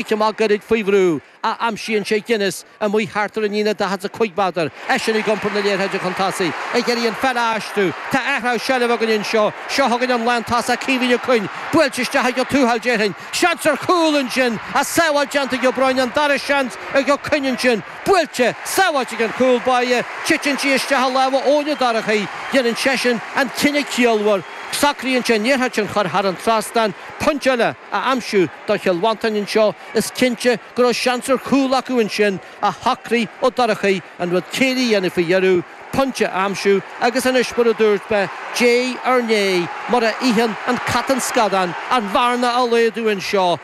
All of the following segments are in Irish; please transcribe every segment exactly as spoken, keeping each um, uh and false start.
Cic amach gairid faoi bhrú a aimsíonn sé Guinness amuigh thart ar an líne daichead is a cúig méadar, eisean ag iompar na liathróide chun tosaigh, ag iarraidh an pheil a aistriú. Tá athrú seilbhe againn anseo. Seo chugainn an lántosach Caoimhín Ó Coinn, buailte isteach ag Ó Tuathail déarfainn. Seans ar chúl ansin ach sábháil déanta ag Ó Broin, an dara seans ag Ó Coinn ansin. Buailte, sábháilte ag an chúl báire, titeann sí isteach i lámha Eoin Ó Dorchaí. Déanann seisean an cinneadh ciallmhar. Socraíonn sé an liathróid sin a chur thar an trasnán, pointe eile a aimsiú do Chill Mhantáin anseo. Is cinnte go raibh seans ar chúl acu ansin ach shocraigh Ó Dorchaí an rud céillí a dhéanamh faoi dheireadh, pointe a aimsiú agus anois mar a dúirt mé, diaidh ar ndiaidh, mura itheann an cat an scadán, an bhearna a laghdú anseo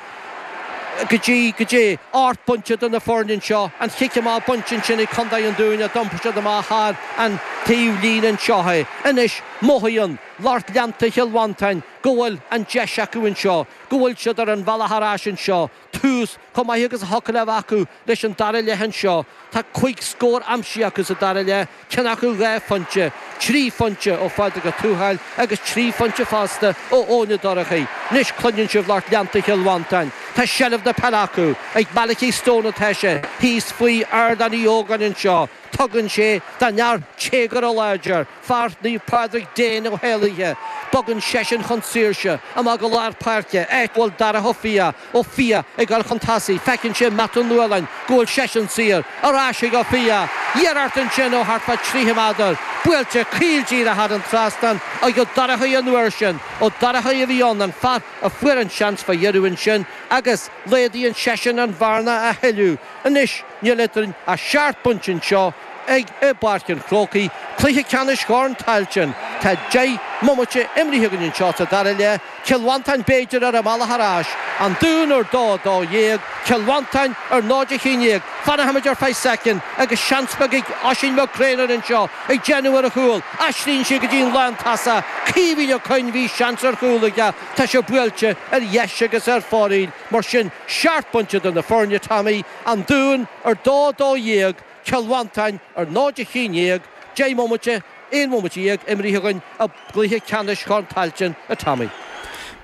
go dtí, go dtí ocht bpointe idir na foirne anseo. An chic amach bainte ansin ag Contae an Dúin a d'iompair siad amach thar an taobh líne anseo é. Anois mothaíonn lucht leanta Chill Mhantáin go bhfuil an deis acu anseo, go bhfuil siad ar an bhealach ar ais anseo, tús chomh maith agus a thiocfadh le bheith acu leis an dara leath anseo. Tá cúig scór aimsithe acu sa dara leath, ceann acu dhá phointe, trí phointe ó Phádraig Ó Tuathail agus trí phointe fosta ó Eoin Ó Dorchaí. Anois cluineann sibh lucht leanta Chill Mhantáin. Tá seilbh na peile acu. Ag Malachy Stone atá sé, thíos faoi Ardán Uí Ógáin anseo. Tugann sé don fhear téagartha láidir, fear Naomh Pádraig Dane Ó hÉalaithe. Bogann seisean chun saoirse, amach go lár páirce, áit a bhfuil Darach Ó Fiaich. Ó Fiaich ag dul chun tosaigh, feiceann sé Matt Ó Nualláin go bhfuil seisean saor. Ar ais ag Ó Fiaich. Iarracht ansin ó thart fá tríocha méadar. Buailte caol díreach thar an trasnán ag Ó Dorchaí an uair sin. Ó Dorchaí a bhí ann, an fear a fuair an seans fá dheireadh ansin agus laghdaíonn seisean an bhearna a thuilleadh. Anois níl eadrainn ach seacht bpointe anseo ag i bPáirc an Chrócaigh, cluiche ceannais Chorn Tailteann. Tá deich mbomaite imrithe againn anseo sa dara leath, Cill Mhantáin b'fhéidir ar a mbealach ar ais, An Dún ar dó a dó dhéag, Cill Mhantáin ar náid a haon déag. Fanfaimid ar feadh soicind agus seans beag ag Oisín Mac Grianna anseo ag déanamh ar a chúl. Aistríonn sé go dtí an lántosach, Caoimhín Ó Coinn, bhí seans ar chúl aige, tá sé buailte ar dheis agus ar fóraoil. Mar sin, seacht bpointe idir na foirne, Tommy, An Dún ar dó a dó dhéag, Cill Mhantáin ar náid a haon déag, deich mbomaite, aon bhomaite dhéag imrithe againn i gcluiche ceannais Chorn Tailteann, a Tommy.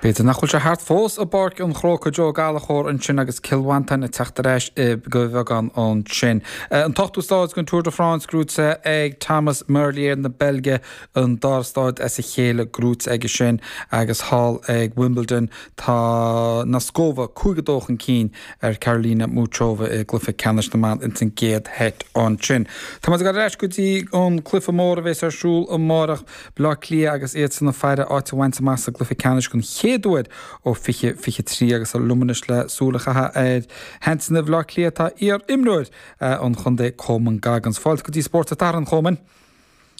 B'fhéidir nach bhfuil sé thart fós i bPáirc an Chrócaigh, Joe Gallchóir ansin agus Cill Mhantáin ag teacht ar ais go bheagán ansin. An t-ochtú stáid den Tour de France gnóite ag Thomas Merlier na Beilge, an dara stáid as a chéile gnóite aige sin agus thall ag Wimbledon tá Noskova cúig a dó chun cinn ar Karolina Muchova i gcluiche ceannais na mban ins an gcéad sheit ansin. Tá muid ag dul ar ais go dtí an cluiche mór a bheas ar siúl amárach, Baile Átha Cliath agus iadsan ag faire áit a bhaint amach sa gcluiche ceannais den chéad uair ó fiche fiche trí agus liom anois le súil a chaitheamh ar sheansanna Bhaile Átha Cliath tá iar-imreoir an chontae Coman Goggins. Fáilte go dtí Spórt an tSathairn, a Chomain.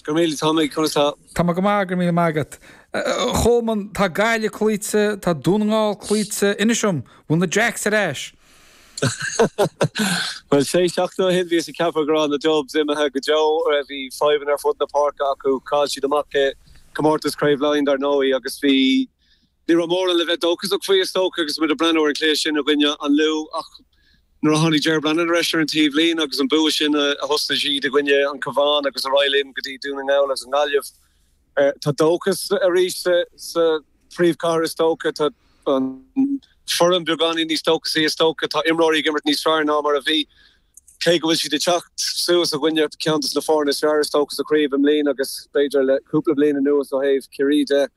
Go raibh míle, Tommy, conas tá? Tá mé go maith, go raibh míle maith agat. A Chomain, tá Gaillimh cloíte, tá Dún na nGall cloíte, inis dom, bhfuil na Jacks ar ais? Bhuel, sé seachtain ó shin bhíothas ag ceapadh go raibh na Dubs imithe go deo, bhí fadhbanna ar fud na páirce acu, chaill siad amach i gcomórtas Craobh Laighean dar ndóigh agus bhí, ní raibh mórán le bheith dóchasach faoi is dócha agus muid ag breathnú ar an chluiche sin i gcoinne an Lú ach nuair a tháinig Ger Brennan ar ais ar an taobhlíne agus an bua sin a thosnaigh siad i gcoinne an Cabhán agus ar aghaidh linn go dtí Dún na nGall agus an Ghaillimh. Tá dóchas arís sa phríomhchathair is dócha. Tá an foireann beagáinín níos dóchasaí is dócha. Tá imreoirí ag imirt níos fearr ná mar a bhí. Cé go bhfuil siad ag teacht suas i gcoinne ceann de na foirne is fearr is dócha sa chraobh i mbliana agus b'fhéidir le cúpla bliain anuas ó thaobh Ciarraí de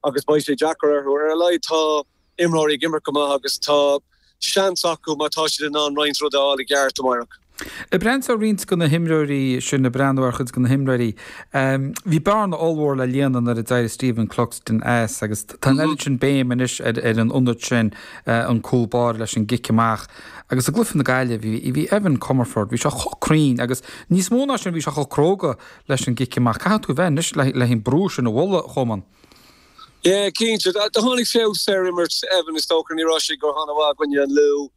agus beidh sé deacair orthu. Ar a laghad tá imreoirí ag imirt go maith agus tá seans acu má tá siad in ann roinnt rud a fháil i gceart amárach. Ag breathnú ar roinnt de na himreoirí sin, ag breathnú ar chuid de na himreoirí, bhí bearna ollmhór le líonadh nuair a d'éirigh Stephen Cluxton as agus tá an oiread sin béim anois ar an ionad sin, an cúl báire leis an gcic amach. Agus i gcluiche na Gaillimhe, bhí bhí Evan Comerford, bhí sé chomh cruinn agus níos mó ná sin, bhí sé chomh cróga leis an gcic amach. Caithfidh tú a bheith anois le an brú sin a bhualadh, a Chomain. Yeah, cinnte. Do tháinig feabhas ar imirt Evan is dócha. Ní raibh sé go han-mhaith i gcoinne an Lú.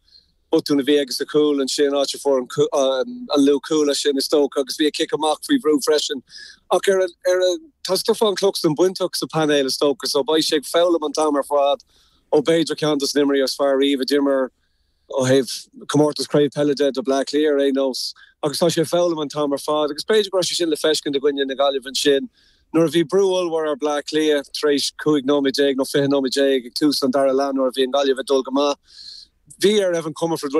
Botún a bhí aige sa chúl ansin, áit a fuair an Lú cúl as sin is dócha agus bhí a chic amach faoi bhrú freisin. Ach ar ar tá Stefan Cluxton bainteach sa painéal is dócha so beidh sé ag foghlaim an t-am ar fad ó b'fhéidir ceann dos na himreoirí is fearr riamh a d'imir ó thaobh comórtas craobh peile de do Bleá Cliath ar aon nós agus tá sé ag foghlaim an t-am ar fad agus b'fhéidir go raibh sé sin le feiscint i gcoinne na Gaillimhe ansin nuair a bhí brú ollmhór ar Bleá Cliath tar éis cúig nóiméad déag nó fiche nóiméad déag ag tús an dara leath nuair a bhí an Ghaillimh ag dul go maith. Bhí ar Evan Comerford